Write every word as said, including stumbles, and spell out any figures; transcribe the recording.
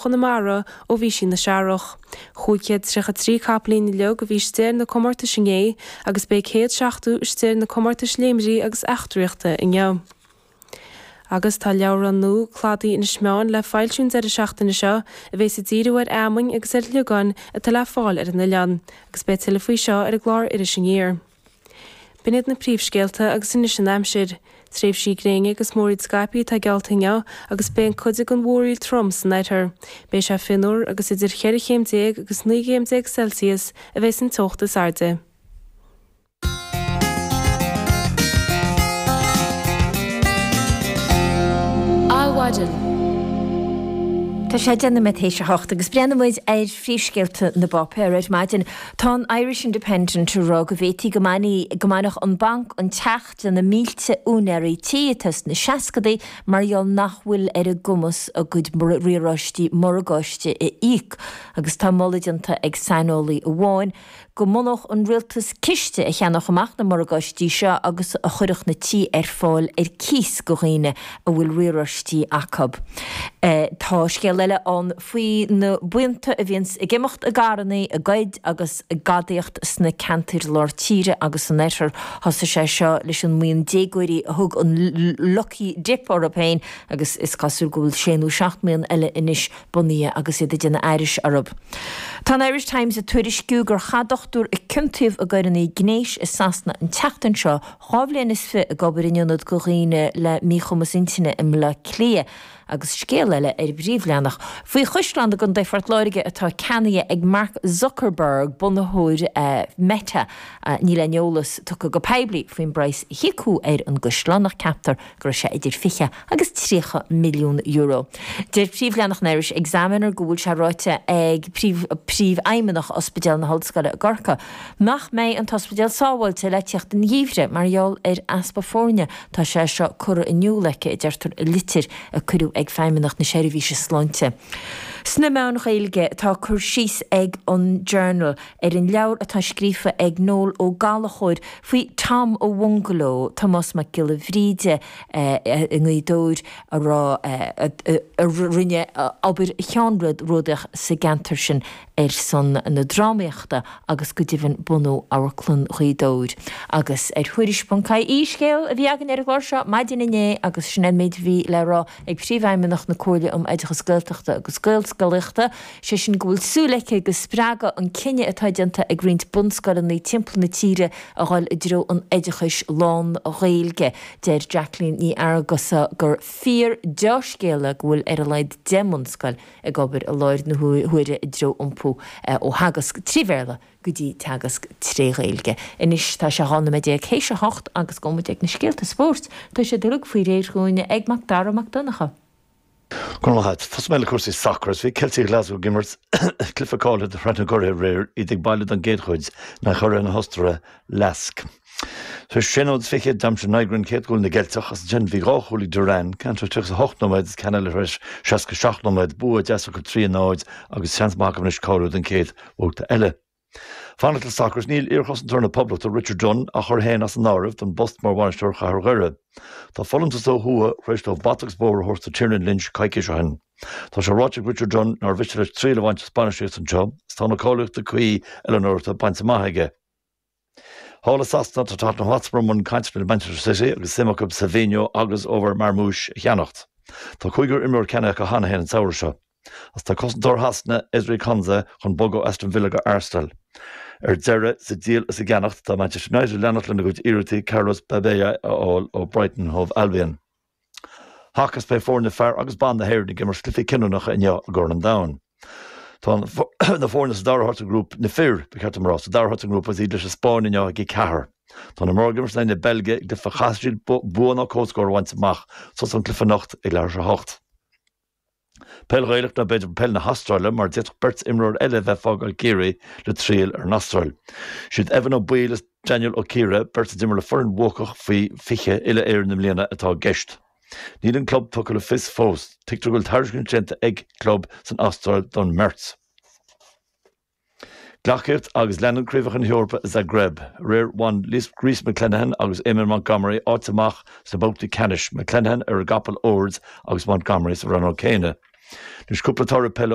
Chonamara ó bhí sí ina searrach. Cúig chéad tríocha trí capaillín uilig a bhí istigh ar na comórtais inné agus beidh céad seachtó istigh ar na comórtais léimrí agus eachtraíochta inniu. Agus tá leabhrán nua Cladaí Inis Meáin le foilsiú an deireadh seachtaine seo a bheas ag díriú ar fheamainn agus ar shliogáin atá le fáil ar an oileán, agus beidh tuilleadh faoi seo ar an gclár Iris Aniar. B'in iad na príomhscéalta agus anois an aimsir. Tréimhsí gréine agus múraíl scaipthe atá geallta inniu agus beidh an cuid den mhúraíl trom san oirthear. Beidh sé fionnuar agus idir cheithre chéim déag agus naoi gcéim déag Celsius a bheas an teocht is airde. Adhmhaidin. Tá sé deich nóiméad théis a hocht agus breathnóidh muid ar phríomhscéalta na bpáipéar ar maidin. Tá an Irish Independent ag rá go bhféadfaí go go mbainfeadh an banc an teach de na mílte úinéirí tí atá sna seascadaí mar gheall nach bhfuil ar a gcumas a gcuid riaráistí morgáiste a íoc agus tá moladh déanta ag saineolaí amháin go mbunódh an rialtas ciste a cheannódh amach na morgáistí seo agus a chuirfeadh na tí ar fáil ar cíos go dhaoine a bhfuil riaráistí acu. Tá scéal eile ann faoi na buíonta a bhíonns ag imeacht i gcarrannaí, ag goid agus ag gadaíocht sna ceantair lár tíre agus san oirthear. Thosaigh sé seo leis an mbuíon déagóirí a thug an Lucky Dip orthu féin agus is cosúil go bhfuil sé nó seacht mbuíon eile anois bunaithe agus iad ag déanamh aithris orthu. Tá an Irish Times ag tuairisciú gur chaith dochtúir a ciontaíodh i gcoireanna gnéis i Sasana an tseachtain seo dhá bhliain is fiche ag obair in ionad do dhaoine le míchumas intinne i mBleá Cliath. Agus scéal eile ar an bpríomhleathanach faoi chaisleán i gContae Phort Láirge atá ceannaithe ag Mark Zuckerberg, bunaitheoir Meta. Níl aon eolas tugtha go poiblí faoin bpraghas a híocadh ar an gcaisleán ach ceaptar go raibh sé idir fiche agus tríocha milliún euro. Deir príomhleathanach an Irish Examiner go bhfuil sé ráite ag Príomhfheidhmeannach Ospidéal na hOllscoile i gCorcaigh nach mbeidh an t-ospidéal sábháilte le teacht an gheimhridh mar gheall ar easpa foirne. Tá sé seo curtha in iúl aici, a deirtear i litir a cuireadh ag Feidhmeannacht na Seirbhíse Sláinte. Sna meáin Ghaeilge, tá cur síos ag an Journal ar an leabhar atá scríofa ag Noel Ó Gallchóir faoi Tom a' Bhungaló, Tomás Mac Giolla Bhríde i nGaoth Dobhair a raibh a rinne obair cheannródaíoch sa gceantar sin ar son na drámaíochta agus go deimhin bunú Amharclann Ghaoth Dobhair. Agus ar Thuairisc ponc IE, scéal a bhí againn ar an gclár seo maidin inné agus sin é an méid a bhí le rá ag Príomhfheidhmeannach na Comhairle um Oideachas Gaeltachta agus Gaelscolaíochta, sé sin go bhfuil súil aici go spreagfaidh an cinneadh atá déanta ag roinnt bunscoileanna timpeall na tíre a dhul i dtreo an oideachais lán-Ghaeilge. Deir Jacqueline Ní Fhearghusa gur fíor dea-scéala go bhfuil ar a laghad deich mbunscoil ag obair i láthair na huaire i dtreo iompú ó theagasc trí Bhéarla go dtí teagasc tré Ghaeilge. Anois tá sé dhá nóiméad déag théis a hocht agus gabhfaidh muid ag na scéalta spóirt. Tá siad uilig faoi réir dhúinn ag Mac Dara Mac Donncha. Go raibh maith agat. Tosóidh mé le cúrsaí sacair. Bhí Ceiltigh Ghlaschú ag imirt cluiche cáilithe do Shraith na gCuradh aréir, iad ag baile don gcéad chuid in aghaidh churaidh na hOstaire, Lask. Tar éis sé nóiméad is fiche, d'aimsigh Nygren céad chúl na gCeilteach agus ansin bhí dhá chúl ag Duran, ceann tar éis tríocha is a hocht nóiméad agus ceann eile tar éis seasca a seacht nóiméad. Bua deas acu trí a náid agus seans maith acu anois cáiliú don chéad bhabhta eile. Fanacht le sacar, níl iarchosantóir na Poblachta, Richard Dunne, á chur féin as an áireamh don bpost mar bhainisteoir Chathair Dhoire. Tá folúntas ó thuaidh tar éis dóibh bata agus bóthar a thabhairt do Tiernan Lynch coicís ó shin. Tá sé ráite ag Richard Dunne nár mhiste leis triail a bhaint as bainistíocht anseo is tá na cáilíochtaí cuí oiliúnóireachta bainte amach aige. Thall i Sasana, tá Tottenham Hotspur i mbun cainteanna le Manchester City agus suim acu Savinho agus Omar Marmoush a cheannacht. Tá cúigear imreoir ceannaithe acu cheana féin an samhradh seo. Agus tá cosantóir Shasana, Ezri Konsa, chun bogadh ó Aston Villa go Arsenal. Ar deireadh, sa díol is sa gceannacht, tá Manchester United ag leanacht lena gcuid iarrachtaí Carlos Baleba a fháil ó Brighton and Hove Albion. Haca is beidh foirne fear agus ban na hÉireann ag imirt cluichí cinniúnacha inniu i gCorn an Domhain. Tá na foirne sa dara háit sa ngrúpa, na fir, ba cheart dom a rá, sa dara háit sa ngrúpa agus iad leis an Spáinn inniu ag a ceathair. Tá na mná ag imirt in aghaidh na Beilge i gcluiche a chaithfidh siad bua nó comhscór a bhaint amach. Tosóidh an cluiche anocht ag leathuair tar éis a hocht. Peil Ghaelach nó b'fhéidir peil na hAstráile mar d'fhéadfadh beirt imreoir eile a bheith ag fágáil Ciarraí le triall ar an Astráil. Siad Evan Ó Baoill is Daniel Ó Ciardha, beirt a d'imir le foireann bhuacach faoi fiche uile-Éireann i mbliana, atá i gceist. Níl an club tugtha le fios fós. Tuigtear go bhfuil tairiscint déanta ag club san Astráil don mbeirt. Gleacaíocht agus leanann Craobhacha na hEorpa i Zagreb. Aréir bhain Rhys McClenaghan agus Eamon Montgomery áit amach sna babhtaí ceannais, McClenaghan ar an gcapall Ord agus Montgomery sa rannóg céanna. Anois cúpla toradh peile